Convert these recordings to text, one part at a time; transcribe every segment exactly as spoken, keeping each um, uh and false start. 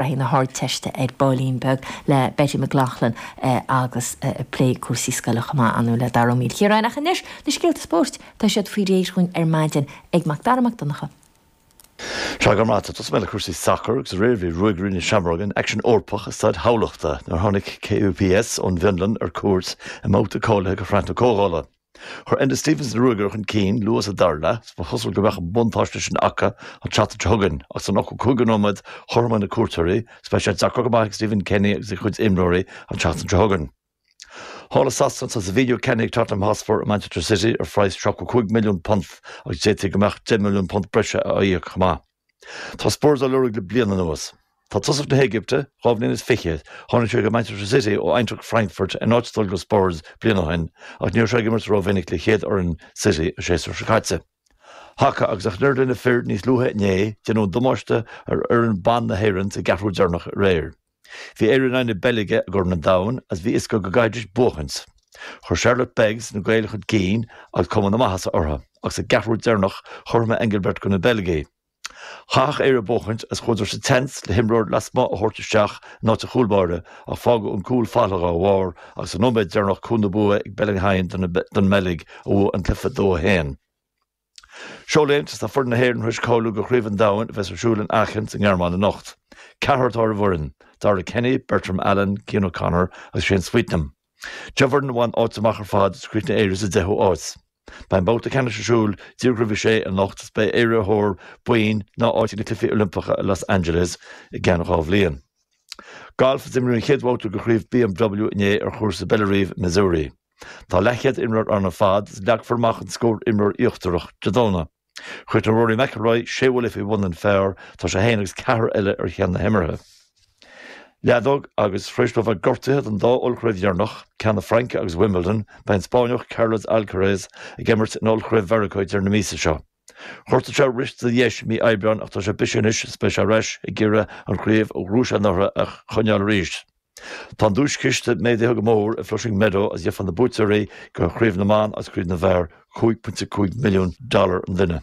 Na hArdteiste ar baillín beag le Betty McLaughlin agus plé cúrsaí scoile chomh maith ann le Dara Ó Maoilchiaráin. Ach anois na scéalta spóirt, tá siad faoi réir dhúinn ar maidin ag Macdara Mac Donncha. Sea, go raibh maith agat. Tosóidh mé le cúrsaí sacair agus aréir bhí Ruagairí na Seamróige in aicsean Eorpach i Staid Thamhlachta nuair a tháinig K U P S ón bhFionlainn ar cuairt i mbabhta cáilithe do Shraith na Comhdhála. Chuir Enda Stevens na Ruagairí chun cinn luath sa dara leath, ba chosúil go mbeadh an buntáiste sin acu an tseachtain seo chugainn, ach san ochtó cúigiú nóiméad chothromaigh na cuairteoirí is beidh sé deacair go maith ag Stephen Kenny agus a chuid imreoirí an tseachtain seo chugainn. Thall i Sasana tá Savinho ceannaithe ag Tottenham Hotspur ó Manchester City ar phraghas seachtó cúig milliún punt agus d'fhéadfaí go mbeadh deich milliún punt breise á íoc chomh maith. Tá Spurs á lorg le bliain anuas. Tá tosach na hÉigipte, dhá bhliain is fiche, tháinig sé go Manchester City ó Eintracht Frankfurt in áit dul go Spurs bliain ó shin ach ní raibh sé ag imirt rómhinic le chéad fhoireann City an séasúr seo caite. Haca agus ach an oiread leis na fir níos luaithe inné, déanadh damáiste ar fhoireann ban na hÉireann sa gceathrú deireanach aréir. Bhí Éire in aghaidh na Beilge i gCorn an Domhain agus bhí fhios acu go gcaithfidís buachaint. Chuir Charlotte Beggs na Gaeil chun cinn agus cuma na maitheasa orthu, agus sa gceathrú deireanach chothromaigh Engelbert do na Beilgigh. Chaithfeadh Éire buachaint agus chuadar sa tseans le himreoir lasmuigh a thabhairt isteach in áit an chúlbáire ach fágadh an cúl fallach dá bharr agus sa nóiméad deireanach cúl na bua ag Bellingham don mBeilg a bhuaigh an cluiche dó a haon. Seoléimt tá foireann na hÉireann tar éis cáiliú do Chraobh an Domhain a bheas ar siúl in Aachen sa nGearmáin anocht. Ceathrar atá ar an bhfoireann, Dara Kenny, Bertram Allen, Cian O'Connor agus Shane Sweetnam. Deich bhfoireann a bhain áit amach ar fad is chríochnaigh Éire sa deichiú áit. Beidh an babhta ceannais ar siúl díreach roimh a sé anocht is beidh Éire ar thóir boinn ná áit ag na Cluichí Oilimpeacha i Los Angeles i gceann dhá bhliain. Galf is imríodh an chéad bhabhta de chraobh B M W inné ar chúrsa Bellerive, Missouri. Tá leathchéad imreoir ann ar fad is leagfar amach an scór imreoir íochtarach Dé Domhnaigh. Chríochnaigh Rory McIlroy sé bhuille faoi bhun an phar, tá sé féin agus ceathrar eile ar cheann na himeartha. Leadóg agus tar éis dó bheith gortaithe don dá ollchraobh dheireanach, ceann na Fraince agus Wimbledon, beidh an Spáinneach Carlos Alcaraz ag imirt in ollchraobh Mheiriceá deireadh na míosa seo. Ghortaigh sé riosta dheis mí Aibreáin ach tá sé bise anois is beidh sé ar ais ag iarraidh an chraobh a ghnóthaigh sé anuraidh a choinneáil arís. Tá an duaischiste méadaithe go mór i Flushing Meadow as gheofar na buaiteoirí go Craobh na mBan agus Craobh na bhFear cúig pointe cúig milliún dollar an duine.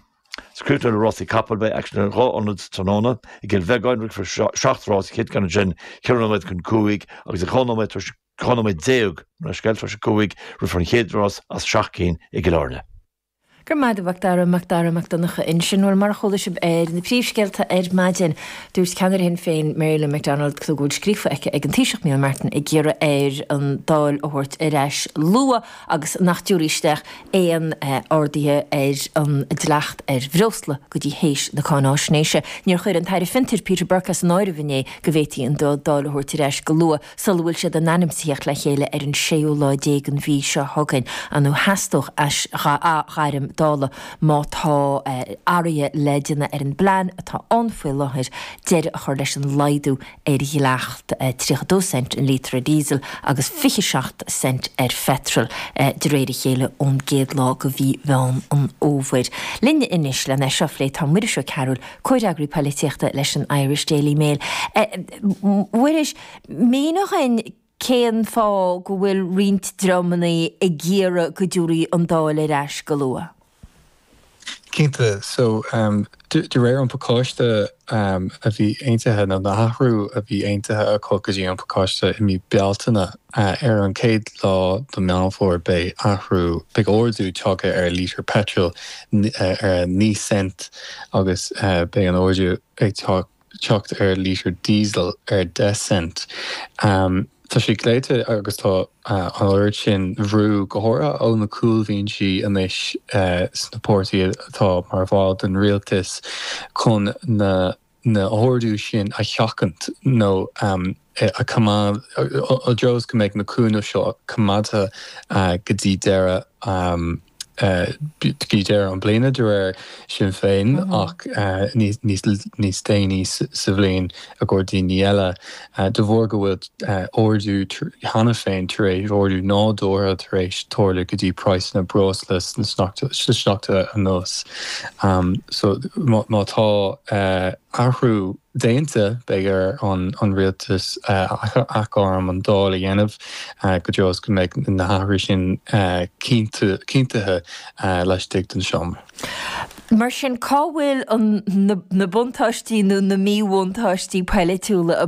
Sa críochnú le rásaí capall, beidh aicsean ar dhá ionad tráthnóna i gCill Bheagáin rithfear seacht rás, chéad ceann ansin ceithre nóiméad chun cúig agus ag dhá nóiméad tar éis dhá nóiméad déag mar scéal tar éis a cúig rithfear an chéad rás as seacht cinn i gCill Airne. Go raibh maith agat, Dara Macdara Mac Donncha ansin. Bhuel, mar a chuala sibh ar na príomhscéalta ar maidin, dúirt ceannaire Shinn Féin Mary Lou McDonald go bhfuil scríofa aici ag an Taoiseach Micheál Martin ag iarraidh air an Dáil a thabhairt ar ais luath agus nach dtabharfaí isteach aon arduithe ar an dleacht ar bhreosla go dtí théis na cáináisnéise. Níor chuir an tAire Fiontair Peter Burke as an áireamh inné go bhféadfaí an Dáil a thabhairt ar ais go luath sula bhfuil siad in ainm is a theacht le chéile ar an séú lá déag den mhí seo chugainn. An theastódh aisghairm Dála má tá athruithe le déanamh ar an bplean atá ann faoi láthair deireadh a chur leis an laghdú ar dhleacht tríocha dó cent an lítra diesel agus fiche seacht cent ar phetrol de réir a chéile ón gcéad lá de mhí Mheán an Fhómhair. Linn anois lena seo a phlé tá Muiris Ó Cearúil, comhfhreagraí polaitíochta leis an Irish Daily Mail. Muiris, mínigh dúinn cén fáth go bhfuil roinnt dreamanna ag iarraidh go dtabharfaí an Dáil ar ais go luath? Cinnte, so um, de, de réir an pacáiste um, a bhí aontaithe nó na hathrú a bhí aontaithe acu go dtí an pacáiste i mí Bealtaine uh, ar an céad lá de Mheán Fómhair beidh athrú beidh ardú tagtha ar lítear petrol uh, ar naoi cent agus uh, beidh an ardú ag teacht ar lítear diesel ar deich cent. Um, Tá sé glaoite agus tá uh, an oiread sin brú go háirithe ó na cúlbhinsí anois uh, sna páirtithe atá mar bhall den rialtas chun na na hardú sin a sheachaint nó um, a choimeád i dtreo go mbeidh na cúnamh seo coimeádta uh, go dtí deireadh um, go dtí deireadh an bliana de réir Sinn Féin mm -hmm. ach uh, níos déanaí sa bhliain a gcóir daoine eile uh, de bharr go bhfuil uh, ardú cheana féin tar éis ardú nádúrtha tar éis tarlú go dtí praghas na breosla sna seachtainí anuas. Um, so má, má tá uh, athrú déanta beidh ar an, an rialtas uh, aisghairm an Dáil a dhéanamh uh, go dtí go mbeidh na hathrú sin uh, cinntithe uh, laistigh den seomra. Mar sin cá bhfuil na buntáistí nó na míbhuntáistí polaitiúla a